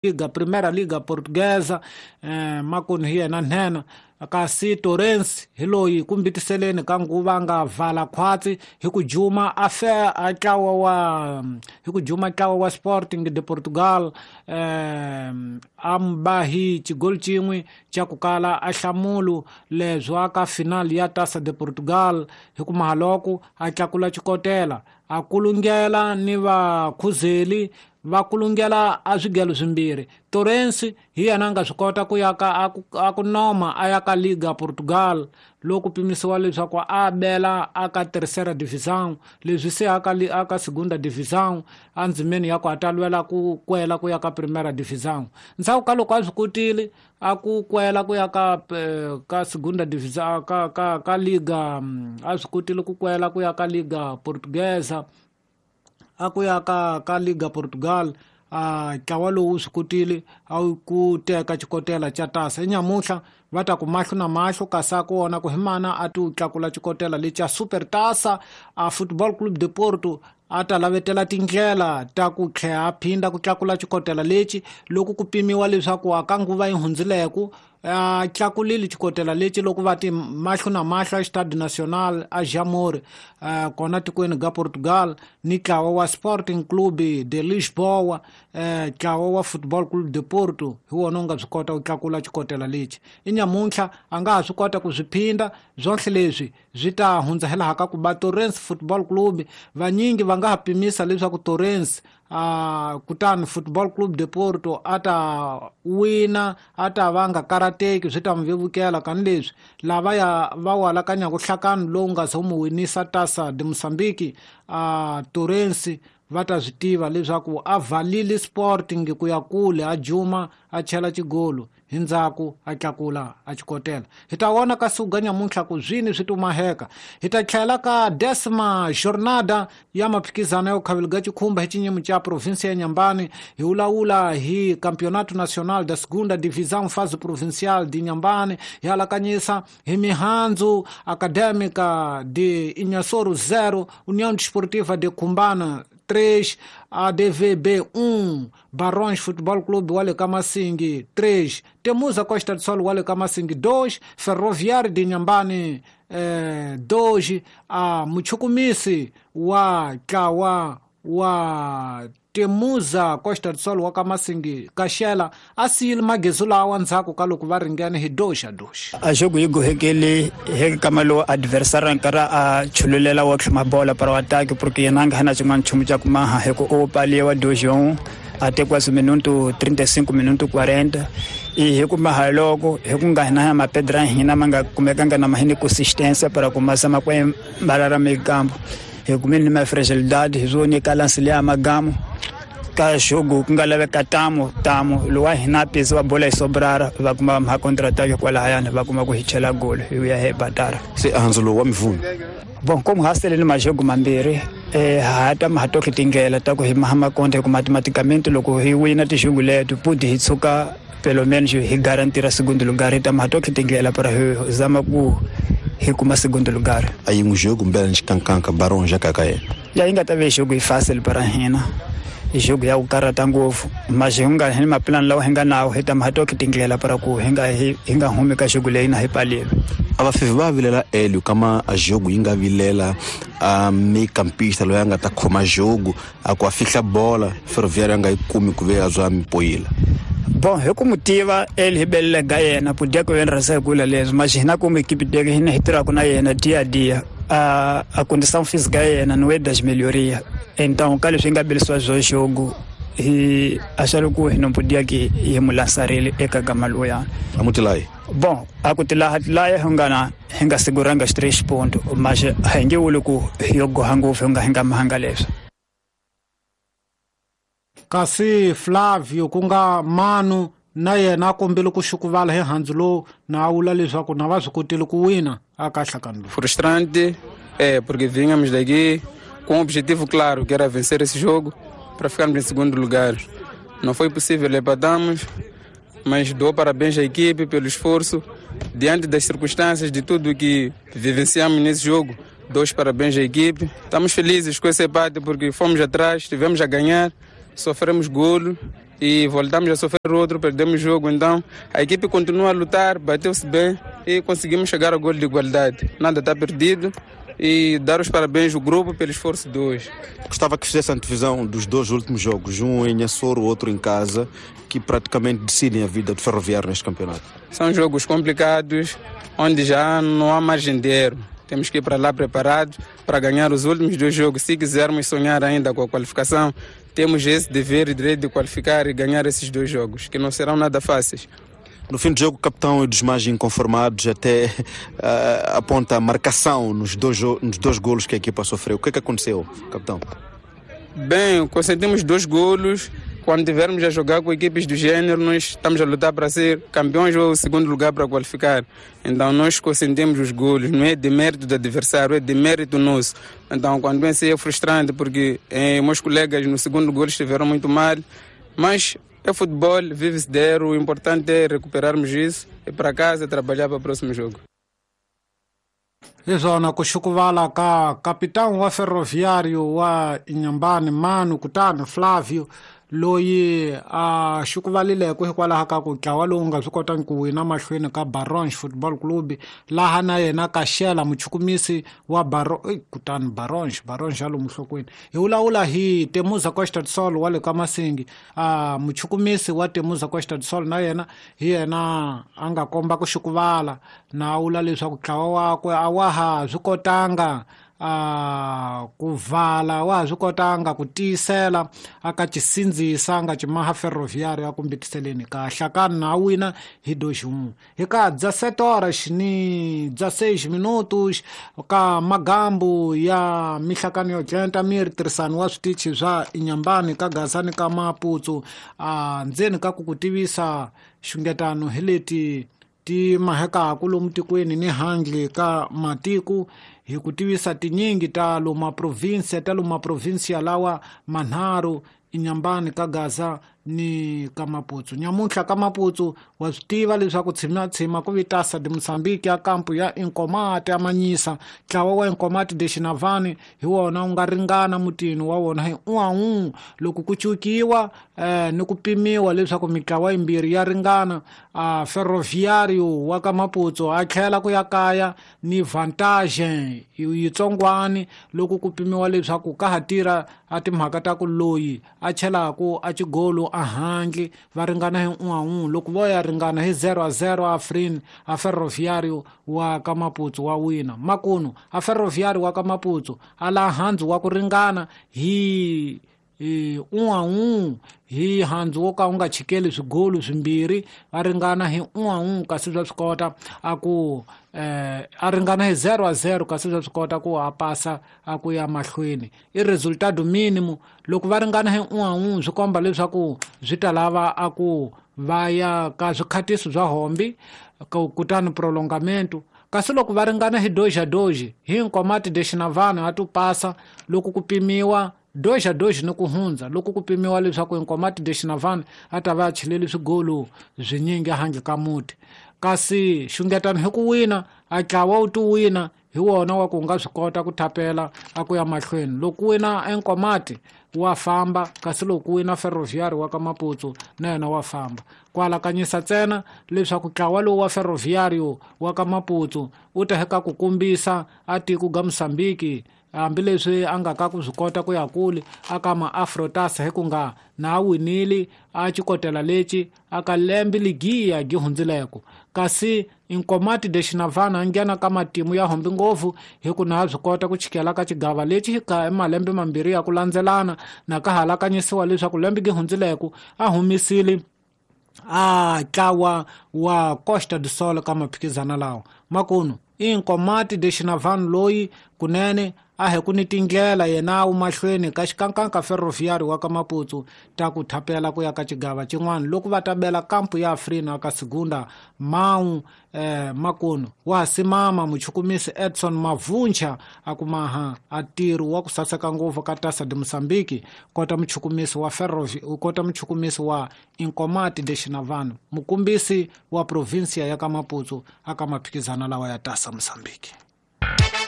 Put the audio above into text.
Liga, Primeira Liga Portuguesa, makoni hi yena nhenha kasi Torrens hi loyi ku mbitiseleni ka nguva a nga vala khwatsi hi ku juma a fe a ntlawa wa hi ku juma ntlawa wa Sporting de Portugal, a mba hi xigoli xin'we xa ku kala a hlamulu leswo aka final ya Taça de Portugal hi ku mahaloko a tlakula xikotela a kulungela ni vakhuzeli va kulungela a swigelo swimbirhi. Torrens hi yena a nga swi kota ku ya ka a ku noma a ya ka Liga Portugal loko pimisiwa leswaku a bela aka Terceira Divisão, leswi se aka Segunda Divisão endzimeni ya ku a ta lwela ku kwela ku ya ka Primeira Divisão. Ndzhaku ka loko a swi kotile a ku kwela ku ya ka Segunda Divisão ka Liga, a swi kotile ku kwela ku ya ka Liga Portuguesa, a ku ya ka Liga Portugal, a ntlawa lowu swi kotile a ku teka xikotela xa tasa. Nyamuhla va ta ku mahlo na mahlo kasi a ku vona ku hi mana a ti tlakula xikotela lexa Super Taça a Football Clube de Porto a ta lavetela tindlela ta ku tlhela a phinda ku tlakula xikotela lexi loko ku pimiwa leswaku a ka nguva yi hundzileku a tlakulile xikotela lexi loko va ti mahlo na mahlo a Stade Nacional a Jamor, kona tikweni ga Portugal ni ntlawa wa Sporting Clube de Lisboa, ntlawa wa Football Clube de Porto hi wona wu nga swi kota ku tlakula xikotela lexi. I nyamuntlha a nga ha swi kota ku swi phinda swohle leswi swi ta hundza hi laha ka ku ba Torrens Football Club. Vanyingi va nga ha pimisa leswaku Torrens kutani Football Club de Porto a ta wina, a ta va nga karateki, swi ta n'wi vevukela kani leswi lava ya va walakanyaka nhlakano lowu nga se wu mu winisa Taça de Moçambique, Torrens va ta swi tiva leswaku a valile Sporting ku ya kule, a juma a chela xigolo hi ndzhaku a tlakula a xikotela. Hi ta vona ka suga nyamuntlha ku zwini swi tumaheka. Hi ta tlhela ka decima jornada ya maphikizano ya khavelo ga xikhumba hi xinyimo xa provinsia ya Inhambane. Hi vulavula hi Campeonato Nacional da Segunda Divisão Fase Provincial de Inhambane. Hi alakanyisa hi mihandzu Acadêmica de Inhassoro 0, União Desportiva de Cumbana 3, ADVB 1, Barões Futebol Clube wa le ka Masingi 3, Temuza Costa do Sol wa le ka Masingi 2, Ferroviário de Inhambane 2, a Muchukumisi wa ntlawa wa Temuza Costa do Sol wa ka Masingi Kaxela a siyile magezu lawa ndzhaku ka loko va ringene hi 2-2. A jogo yi gohekele hi kama lowu adversary nkarhi a chululela wa tlhuma bola para o ataque porque yena a nga na xin'wana nchumu xa ku maha hi ku u paliwa 2-1 até quase minuto 35 minuto 40 e hi ku maha loko hi ku nga hina mapedra hina ma nga kumekanga na mahini consistência para começar ma ku mbarara meio-campo hi kumeni ni ma fragilidade hi swo nyika lance liya magamu ka jogo ku nga laveka tamo tamo lowa hina pesi wa bola yi sobrara va kuma ma contre-attaque kwalahayani va kuma ku hi chela golo hi vuya hi batara. Se handzu lowu wa mivhunu bon como ha sele ni majogo mambirhi, ha ta ma ha toke tindlela ta ku hi maha makonde ku matematicamente loko hi wina tijogo leto pudi hi tshuka pelo menos hi garantira segundo lugar, hi ta ma ha toke tindlela para hi zama ku hi kuma segundo lugar. A yi n'wi jogo mbela ni xikankanka Barões ya kaka yena ya yi nga ta ve jogo yi fácil para hina, jogo ya ku karhata ngopfu mas hi nga hi mapulani lawa hi nga nawo hi ta ma ha toke tindlela para ku hi nga humi ka jogo leyi na hi palile. A vafivi va vilela Hélio kama a jogo yi nga vilela a meio-campista loyi a nga ta khoma jogo a ku a fihla bola Ferroviário a nga yi kumi ku ve a zwa mipoyila. Bon hi ku mu tiva Hélio hi belela ga yena podia ku yena rasa kula leswi mas hina ku mu equipe deke hina hi tirhaka na yena dia a dia a condição física yena não é das melhorias, então ka leswi nga belisiwa swo jogo hi achava ku hi não podia que hi mu lançarile eka gama loyana. A mu tilayi? Bon a ku tilaha tilaya hi nga na hi nga seguranga os 3 pontos, mas hi nge vuli ku yo goha ngopfu hi nga hi nga mahanga leswi. Kasi Flavio ku nga Manu na yena a kombele ku xukuvala hi handzu lowu na a vula leswaku na va swi kotile ku wina a ka nhlakano lowu. Frustrante, porque vínhamos daqui com um objetivo claro, que era vencer esse jogo para ficarmos em segundo lugar. Não foi possível, empatamos, mas dou parabéns à equipe pelo esforço. Diante das circunstâncias de tudo que vivenciamos nesse jogo, dou os parabéns à equipe. Estamos felizes com esse empate porque fomos atrás, tivemos a ganhar, sofremos golo. E voltamos a sofrer outro, perdemos o jogo. Então a equipe continua a lutar, bateu-se bem e conseguimos chegar ao gol de igualdade. Nada está perdido e dar os parabéns ao grupo pelo esforço de hoje. Gostava que fizesse a antevisão dos dois últimos jogos, um em Inhassoro, outro em casa, que praticamente decidem a vida do Ferroviário neste campeonato. São jogos complicados, onde já não há margem de erro. Temos que ir para lá preparados para ganhar os últimos dois jogos. Se quisermos sonhar ainda com a qualificação, temos esse dever e direito de qualificar e ganhar esses dois jogos, que não serão nada fáceis. No fim do jogo, o capitão e dos mais inconformados até aponta a marcação nos dois golos que a equipa sofreu. O que é que aconteceu, capitão? Bem, consentimos 2 golos. Quando tivermos a jogar com equipes do gênero, nós estamos a lutar para ser campeões ou segundo lugar para qualificar. Então nós consentimos os golos, não é demérito do adversário, é demérito nosso. Então quando vem é frustrante porque meus colegas no segundo golo estiveram muito mal, mas é futebol, vive-se de erro, o importante é recuperarmos isso e para casa trabalhar para o próximo jogo. Izona kuxukuvala ka capitão wa Ferroviário wa Inhambane Mano Kutani Flávio loyi a xukuvalileko hikwalaho ka ku ntlawa lowu nga swi kotangi ku wina mahlweni ka Barons Football Club laha na yena Kaxela muchukumisi wa kutani Barons ya lomu nhlokweni hi vulavula hi Temuza Costa do Sol wa le ka Masingi. A muchukumisi wa Temuza Costa do Sol na yena hi yena a nga komba ku xukuvala na vula leswaku ntlawa wakwe a wa ha swi kotanga ku vala wa swi kotanga ku tiyisela aka cisindzisa nga cimaha Ferroviário ya kumbitiseleni ka hlakani na wina hi 2-1 hi ka 17 horas ni 16 minutos ka magambu ya mihlakani yo jenta miri tirhisano wa switichi swa Inhambane ka Gazani ka Maputsu ndzeni ka ku ku tivisa xungetano hi leti ti mahekaku lomu tikweni ni handle ka matiko hi ku tivisa tinyingi ta loma provinsia lawa manharhu Inhambane ka Gaza ni ka Maputsu. Nyamuntlha ka Maputsu wa swi tiva leswaku tshima ku vitasa de Mozambique ya kampu ya Inkomati ya Manyisa. Ntlawa wa Inkomati de Xinavani hi wona wu nga ringana mutini wa wona hi 1-1 loko ku cukiwa ni ku pimiwa leswaku mitlawa yimbirhi ya ringana. Ferroviário wa ka Maputsu a tlhela ku ya kaya ni vantage yitsongwani loko ku pimiwa leswaku ka ha tirha a timhaka ta ku loyi a chelaku a xigolo a handle va ringana hi 1-1 loko vo ya ringana hi 0-0 Afrin a Ferroviário wa ka Maputsu wa wina. Makunu a Ferroviário wa ka Maputsu a la handzu wa ku ringana hi 1-1 hi handzu wo ka u nga chikeli swigolo swimbirhi va ringana hi 1-1 kasi swa swi kota a ku a ringana hi 0-0 kasi swa swi kota ku a pasa a ku ya mahlweni i resultado mínimo. Loko va ringana hi 1-1 swi komba leswaku swi ta lava a ku va ya ka swikhatiso swa hombi kutani prolongamento. Kasi loko va ringana hi 2-2 hi Nkomati de Xinavana a tu pasa loko ku pimiwa 2-2 ni ku hundza loko ku pimiwa leswaku Nkomati de Xinavana a ta va a chileli swigolo swinyingi handle ka muti. Kasi xungetano hi ku wina a ntlawa wu ti wina hi wona wa ku nga swi kota ku thapela a ku ya mahlweni. Loko wina Nkomati wa famba kasi loko wina Ferroviário wa ka Maputsu na yena wa famba. Ku alakanyisa ntsena leswaku ntlawa lowu wa Ferroviário wa ka Maputsu wu ta heka ku kombisa a tiko ga Mozambique hambileswi a nga ka ku swi kota ku ya kule aka ma-Afrotas hi ku nga na a winile a xikotela lexi aka lembe ligiya gi hundzileko. Kasi Nkomati de Xinavana a nghena ka matimu ya hombi ngopfu hi ku na swi kota ku chikela ka xigava lexi ka malembe mambirhi ya ku landzelana na ka halakanyisiwa leswaku lembe gi hundzileko a humisile a ntlawa wa Costa do Sol ka maphikizana lawa. Makunu i Nkomati de Xinavana loyi kunene a hi ku ni tindlela yena wu mahlweni ka xikankanka Ferroviário wa ka Maputsu ta ku thapela ku ya ka xigava xin'wana loko va ta bela kampu ya Afrina ka Segunda Mau. Makunu wa simama muchukumisi Edson Mavuncha a kumaha a ntirho wa ku saseka ngopfu ka Taça de Mozambique kota muchukumisi wa kota muchukumisi wa Nkomati de Xinavana mukumbisi wa provinsia ya ka Maputsu aka maphikizana lawa ya Taça Mozambique.